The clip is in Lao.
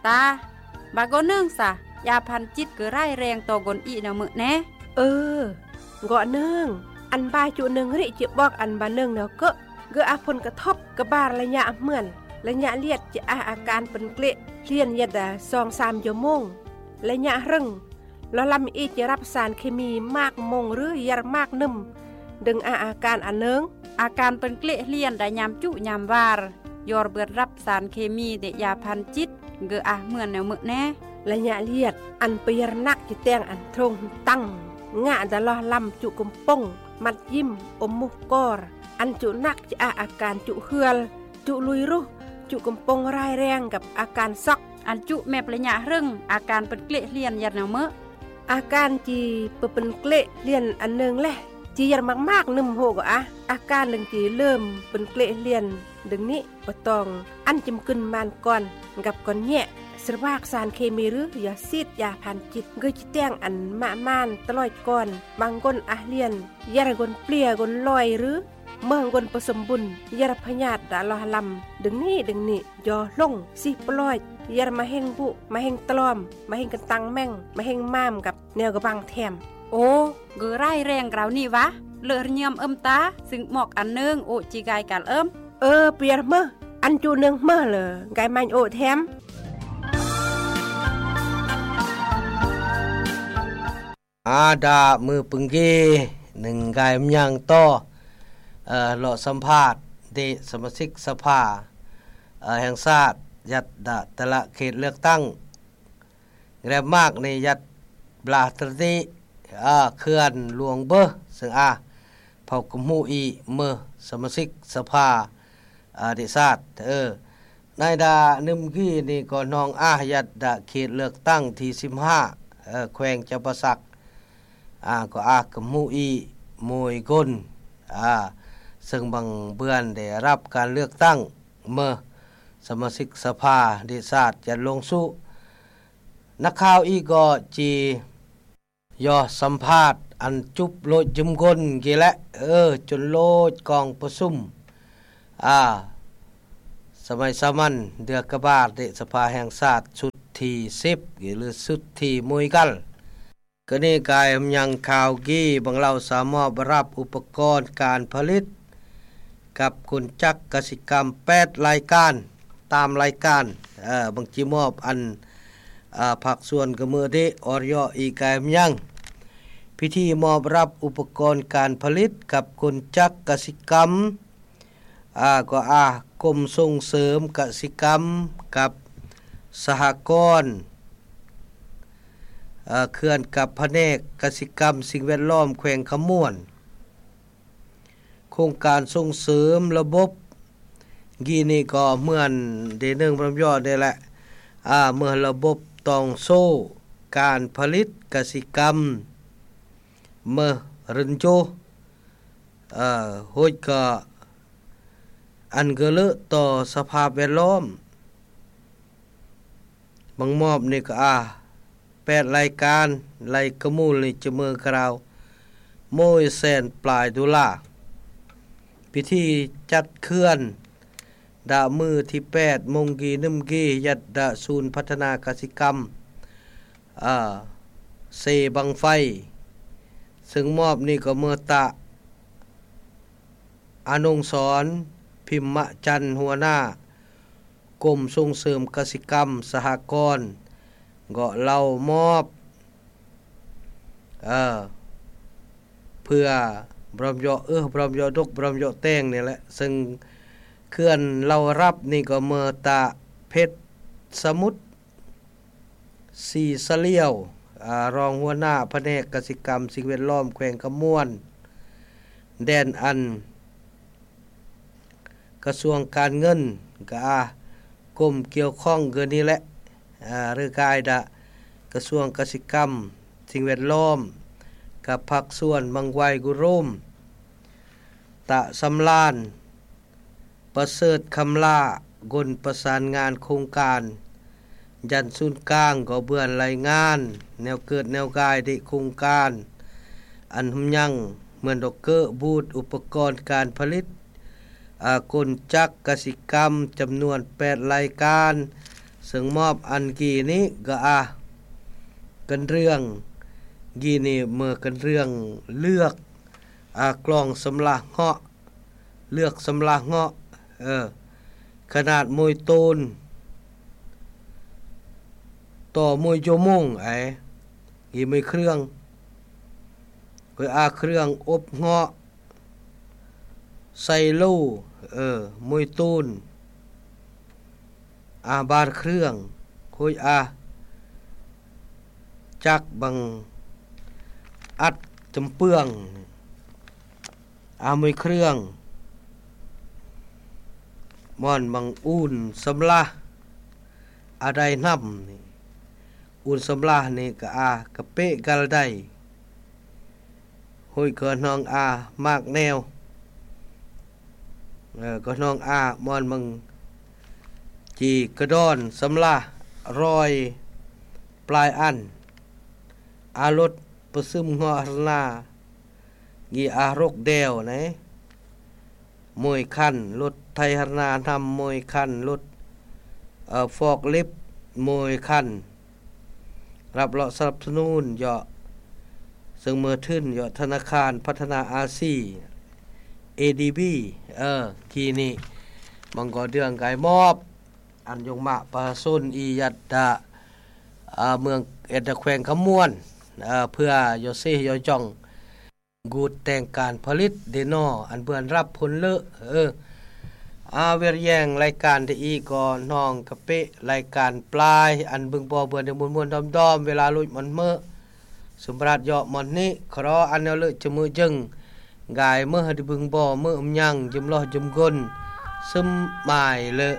ຕາ. ບາກໍເນີງສະ, ຢາພັນຈິດເກີຮ້າຍແຮງຕໍ່ກົນອີແນວເມີແນ. ເອີ, ກໍເນີງ, ອັນບາຈຸເນີງຣິຈິບອກອັນບາເນີງແນວເກີ, ເກີອາຜົນກະທົບກະບາລະຍະເໝືອນ, ລະຍະລຽດຈິອາອາການເປັນເກລະເລນຍັດສອງສາມຊົ່ວໂມງ, ລະຍະເຮິງ ລະລຳອີຈະຮັບສານເຄມີມາກມົງ ຫຼື ຢາມາກໜຶ່ມ ດຶງອາອາການອາເນີງ. ອາການເປັນເກລະເລນໄດ້ຍາມຈຸຍາມວາລ ຢອລເບີດຮັບສານເຄມີເດຍາພັນຈິດ ເກີອາເໝືອນແນວເມີແນ. ລະຍະລຽດ ອັນປຽນນັກຈະແຕ່ງອັນໂທງຕັງ ງະດາລອລຳ ຈຸກົມປົງ ມັດຍິມ ອົມມຸກອລ ອັນຈຸນັກຈະອາອາການຈຸເຮືອລ ຈຸລຸຍລຸ ຈຸກົມປົງຮ້າຍແຮງກັບອາການຊັອກ. ອັນຈຸແມັບລະຍະເຮິງ ອາການເປັນເກລະເລນຍັດແນວເມີ. ອາການຈີປະເປັນເກລະເລນອັນເນີງແລະ ຈີຢາມາກໆໜຶ່ມໂຫກໍອາ. ອາການດຶງຈີເລີ່ມເປັນເກລະເລນ ດຶງນີ້ ປະຕອງ ອັນຈິມກຶນມານກ່ອນ ກັບກ່ອນແຍະ ສະຫວາກສານເຄມີ ຫຼື ຢາສີດຢາພັນຈິດ ເກີຈະແຕ່ງອັນມະມານຕະຫຼອຍກ່ອນ ບາງກົນອາເລນ ຢາກົນເປຍກົນລອຍ ຫຼື ເມືອງກົນປະສົມບຸນ ຢາພະຍາດດາລອລຳ ດຶງນີ້ ດຶງນີ້ ຢໍຫຼົງ ຊິປລອຍ ຢາມະເຮັງບຸ ມະເຮັງຕລອມ ມະເຮັງກັນຕັງແມງ ມະເຮັງມາມ ກັບແນວກະບັງແຖມ. ໂອ ເກີຮ້າຍແຮງກາວນີ້ຫວາ ເລີຣະຍອມເອີມຕາ ຊຶ່ງໝອກອັນເນີງໂອຈີກາຍກາລເອີມ. ເອີ ປຽນເມີ ອັນຈຸເນີງເມີເລີ ກາຍມາຍໂອແຖມ. ອາດາມືປຶງກີ ໜຶ່ງກາຍມຍັງຕໍ່ ເອີ ເລາະສຳພາດເດະສະມາຊິກສະພາ ເອີ ແຫ່ງຊາດ ຍັດດະແຕ່ລະເຂດເລືອກຕັ້ງ ແກຣມມາກໃນຍັດບລາຕະຕິ ເອີ ເຂື່ອນຫຼວງເບີ ເຊິ່ງອາ ເຜົາກຳຫູອີເມີ ສະມາຊິກສະພາ ອາ ເດະຊາດ ເອີ ໃນດາໜຶ່ມກີນີ້ກໍນ້ອງອາ ຍັດດະເຂດເລືອກຕັ້ງທີສິບຫ້າ ເອີ ແຂວງຈຳປາສັກ ອາ ກໍອາກຳຫູອີໂມຍກົນ ອາ ເຊິ່ງບາງເບືອນໄດ້ຮັບການເລືອກຕັ້ງເມີ ສະມາຊິກສະພາເດະຊາດ ຈັດລົງສູ່ ນັກຂ່າວອີກກໍຈີ ຍໍສຳພາດອັນຈຸບໂລດຢືມກົນກີ້ແຫຼະ ເອີ ຈົນໂລດກອງປະຊຸມ ອາ ສະໄໝສາມັນເດືອກະບາດເດະສະພາແຫ່ງຊາດຊຸດທີສິບ ຫຼື ຊຸດທີມຸຍກັນ. ກະນີກາຍມຍັງຂ່າວກີ້ ບັງເລົ່າສາມອບຮັບອຸປະກອນການຜະລິດ ກັບກົນຈັກກະສິກຳແປດລາຍການ ຕາມລາຍການ ເອີ ບັງຈີມອບອັນ ອາ ພາກສ່ວນກະເມີເດ ອອຍອ ອີກາຍມຍັງ ພິທີມອບຮັບອຸປະກອນການຜະລິດກັບກົນຈັກກະສິກຳ ອາ ກໍອາ ກົມສົ່ງເສີມກະສິກຳ ກັບສະຫະກອນ ເອີ ເຂື່ອນ ກັບພະແນກກະສິກຳສິ່ງແວດລ້ອມແຂວງຄຳມ່ວນ. ໂຄງການສົ່ງເສີມລະບົບ ກີ້ນີ້ກໍເໝືອນເດເນີງບຣອມຢໍ້ນີ້ແຫຼະ ອາ ເມື່ອລະບົບຕອງໂສ້ການຜະລິດກະສິກຳ ເມີຣຶນໂຈ ເອີ ໂຫດກໍອັນກະເລີຕໍ່ສະພາບແວດລ້ອມ. ບັງມອບນີ້ກໍອາ ແປດລາຍການ ໄລກະມູນລິຈະເມີກະລາວ ໂມຍແສນປາຍໂດລາ. ພິທີຈັດເຂື່ອນ ດາມື້ທີແປດ ມົງກີໜຶ່ມກີ ຍັດດາສູນພັດທະນາກະສິກຳ ອາ ເຊບັ້ງໄຟ ເຊິ່ງມອບນີ້ກໍເມີຕະ ອານົງສອນ ພິມມະຈັນ ຫົວໜ້າ ກົມສົ່ງເສີມກະສິກຳສະຫະກອນ ກໍເລົ່າມອບ ເອີ ເພື່ອບຣອມຢໍ້ເອີ ບຣອມຢໍ້ດົກ ບຣອມຢໍ້ແຕ່ງນີ້ແຫຼະ ເຊິ່ງເຂື່ອນເລົ່າຮັບນີ້ກໍເມີຕາເພັດສະໝຸດ ສີສະຫຼຽວ ອາ ຮອງຫົວໜ້າພະແນກກະສິກຳສິ່ງແວດລ້ອມແຂວງຄຳມ່ວນ ແດນອັນ ກະຊວງການເງິນ ກະອາ ກົມກ່ຽວຂ້ອງເກີນນີ້ແຫຼະ ອາ ຫຼືກາຍດະ ກະຊວງກະສິກຳ ສິ່ງແວດລ້ອມ ກັບພາກສ່ວນມັງໄວກຸໂຣມ ຕະສຳລານ ປະເສີດຄຳລາ ກົນປະສານງານໂຄງການ ຢັນສູນກາງກໍເບືອນລາຍງານ ແນວເກີດແນວກາຍເດະໂຄງການ ອັນຫຸ່ມຍັງ ເໝືອນດອກເກີ ບູດ ອຸປະກອນການຜະລິດ ອາ ກົນຈັກກະສິກຳ ຈຳນວນແປດລາຍການ ເຊິ່ງມອບອັນກີ້ນີ້ກໍອາກັນເລື່ອງ ກີ້ນີ້ເມື່ອກັນເລື່ອງເລືອກອາກລອງສຳລາເຫາະ ເລືອກສຳລາເຫາະ ເອີ ຂະໜາດມວຍໂຕນຕໍ່ມວຍຊົ່ວໂມງ ໄອ ກີ້ມວຍເຄື່ອງ ໂດຍອາເຄື່ອງອົບເຫາະ ໄຊໂລ ເອີ ມວຍໂຕນ ອາບາດເຄື່ອງ ໂຄຍອາຈັກບັງອັດຈຳເປືອງ ອາມວຍເຄື່ອງ ມ່ອນບັງອູນສຳລາ ອາໄດນຳ ອູນສຳລານີ້ກະອາກະເປກາລະໄດ ໂຮຍກະນອງອາມາກແນວ ເອີ ກະນອງອາ ມ່ອນມັງຈີກະດອນ ສຳລາ ຣອຍ ປລາຍອັນ ອາລົດປະຊຶມເຫາະຮະນາ ກີອາລົກແດວນະ ມວຍຄັນ ລົດໄຖຮະນານຳມວຍຄັນ ລົດ ເອີ ຟອກລິບ ມວຍຄັນ ຮັບເລາະສະໜັບສະໜູນເຍາະ ເຊິ່ງເມືອທຶນເຍາະທະນາຄານພັດທະນາອາຊີ ເອດີບີ ເອີ ກີ້ນີ້ມັນກໍເດືອງກາຍມອບ ອັນຍົງມະປະຊາຊົນອີຢັດດາ ເມືອງເອັດດາ ແຂວງຄຳມ່ວນ ເພື່ອຢໍເຊຢໍຈ່ອງ ກູດແຕ່ງການຜະລິດເດນໍ ອັນເບືອນຮັບຜົນເລີ ເອີ ອາເວຍແຍງລາຍການໄດ້ອີກກໍນ້ອງກະເປະລາຍການປລາຍ ອັນບຶງບໍ່ເບືອນໄດ້ມ່ວນໆດອມໆ ເວລາລຸຍມັນເມີ ສົມບະລາດເຍາະມັນນີ້ ຄຣໍອັນແນວເລີຈະມືຈຶ່ງ ກາຍເມີໄດ້ບຶງບໍ່ເມີອຳຍັງ ຢືມລໍຢືມກົນ ຊຶມໝາຍເລີ